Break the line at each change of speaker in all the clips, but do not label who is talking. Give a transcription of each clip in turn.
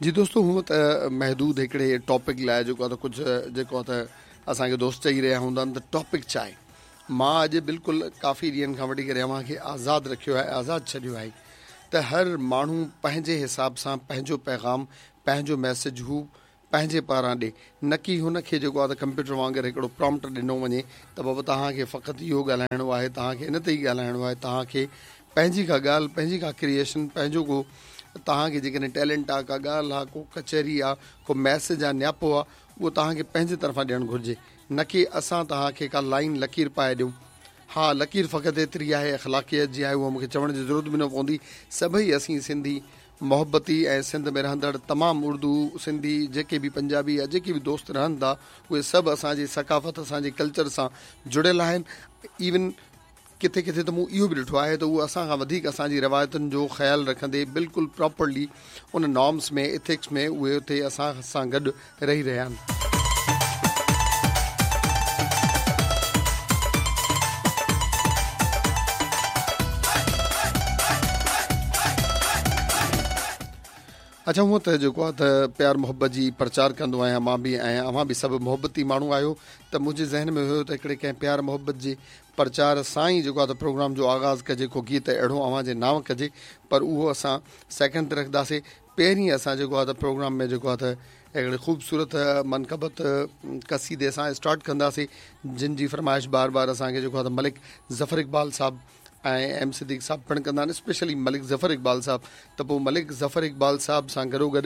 جي دوستو هونء ته محدود هڪڙي ٽاپڪ لاء جيڪو آهي ته ڪجهه جيڪو آهي ته اسان کي دوست چئي رهيا هوندا آهن ته ٽاپڪ ڇا آهي مان اڄ بلڪل ڪافي ڏينهن کان وٺي ڪري اوهان کي آزاد رکيو آهي آزاد ڇڏيو آهي ته هر ماڻهو پنهنجي حساب سان پنهنجو پيغام پنهنجو ميسج هو پنهنجي پاران ڏي، نه ڪي هن کي جيڪو آهي ته ڪمپيوٽر وانگر هڪڙو پرامپٽ ڏنو وڃي ته بابا توهان کي فقط اهو ڳالهائڻو آهي، توهان کي ان تي ئي ڳالهائڻو آهي، توهان کي پنهنجي ڪا ڳالهه، پنهنجي ڪا ڪريئيشن، پنهنجو ڪو توهان کي جيڪڏهن ٽيلنٽ آهي، ڪا ڳالهه آهي، ڪو ڪچهري آهي، ڪو ميسيج آهي، نياپو آهي، اهو توهان کي پنهنجي طرفان ڏيڻ گهرجي، نه ڪي اسان توهان کي ڪا لائين لڪير پائي ڏيون. ها لڪير فقط ايتري آهي اخلاقيات جي آهي اها مون کي چوڻ جي ضرورت به نه پوندي، سڀئي اسين سنڌي محبتي ۽ سنڌ ۾ رهندڙ تمام اردو، سنڌي، جيڪي به پنجابي يا جيڪي به دوست رهن ٿا اهي سڀ اسان جي ثقافت اسان جي ڪلچر سان جڙيل آهن ايون ڪٿي ڪٿي ته مون اهو به ڏٺو آهي ته اهو اسان کان وڌيڪ اسان جي روايتن جو خيال رکندي بلڪل پراپرلي ان نارمس ۾ ايٿڪس ۾ اهي اتي اسان سان گڏ رهي رهيا آهن. اڇا هونء ته جيڪو آهي ته پيار محبت جي پرچار ڪندو آهيان مان به ۽ اوهان به سڀ محبتي ماڻهو آهيو ته منهنجي ذهن ۾ هيو ته هڪڙي ڪنهن پيار محبت جي پرچار سان ئي جيڪو آهي ته پروگرام جو آغاز ڪجي ڪو گيت اهڙو اوهان جي نانء ڪجي پر اهو اسان سيڪنڊ تي رکنداسي پهرين اسان جيڪو آهي ته پروگرام ۾ جيڪو آهي ته هڪڙي خوبصورت منقبت قصيدي سان اسٽارٽ ڪنداسين جن جي فرمائش بار بار اسان کي جيڪو آهي ته ملڪ ظفر اقبال صاحب ۽ ايم صديق صاحب پڻ ڪندا آهن اسپيشلي ملڪ ظفر اقبال صاحب ته پوء ملڪ ظفر اقبال صاحب سان گڏو گڏ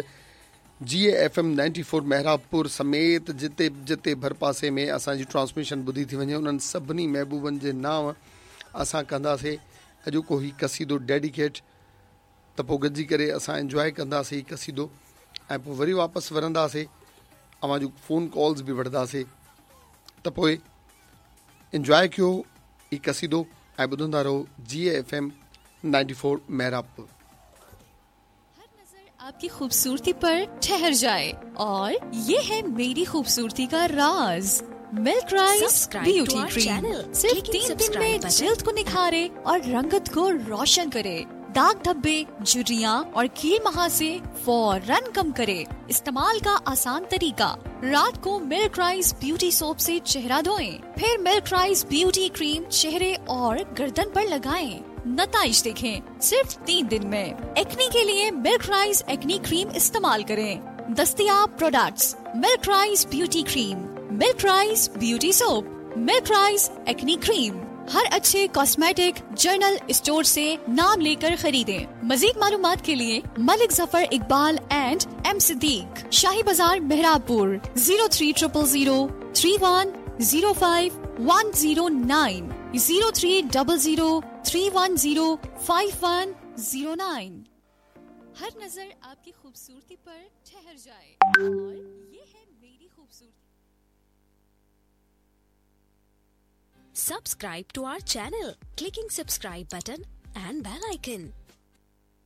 جي ايف ايم 94 محرابپور سميت جتي جتي ڀرپاسي ۾ اسان جي ٽرانسميشن ٻڌي ٿي وڃي انهن سڀني محبوبن جي نانء اسان ڪنداسين اڄوڪو هي قصيدو ڊيڊيڪيٽ ته پوء گڏجي ڪري اسان انجواء ڪنداسي هي قصيدو ۽ پوء وري واپس ورنداسي اوهان جون فون ڪالز به وٺنداسي ته پوء انجواء ڪيو هي قصيدو ۽ ٻڌندا رهو جي ايف ايم 94 محرابپور.
हर नजर आपकी खूबसूरती पर ठहर जाए और ये है मेरी खूबसूरती का राज milk rice
Subscribe to
beauty
our
cream
channel.
सिर्फ
Clicking
3 दिन
subscribe
में
button.
जिल्द को निखारे और रंगत को रोशन करे। दाग धब्बे, झुर्रियां और कील महासे फौरन कम करे। इस्तेमाल का आसान तरीका, रात को मिल्क राइस ब्यूटी सोप से चेहरा धोएं, फिर मिल्क राइस ब्यूटी क्रीम चेहरे और गर्दन पर लगाएं। नताइज देखें सिर्फ 3 दिन में। एक्नी के लिए मिल्क राइस एक्नी क्रीम इस्तेमाल करें। दस्तियाब products milk rice beauty cream, milk rice beauty soap, milk rice acne cream. हर अच्छे कॉस्मेटिक जनरल स्टोर से नाम लेकर खरीदें। मजीद मालूमात के लिए मलिक जफर इकबाल एंड एम सिद्दीक, शाही बाजार मेहराबपुर, 03000 3105 109, 0300 310 5109। हर नजर आपकी खूबसूरती पर ठहर जाए और ये है मेरी खूबसूरती।
Subscribe to our channel, clicking subscribe button and bell icon.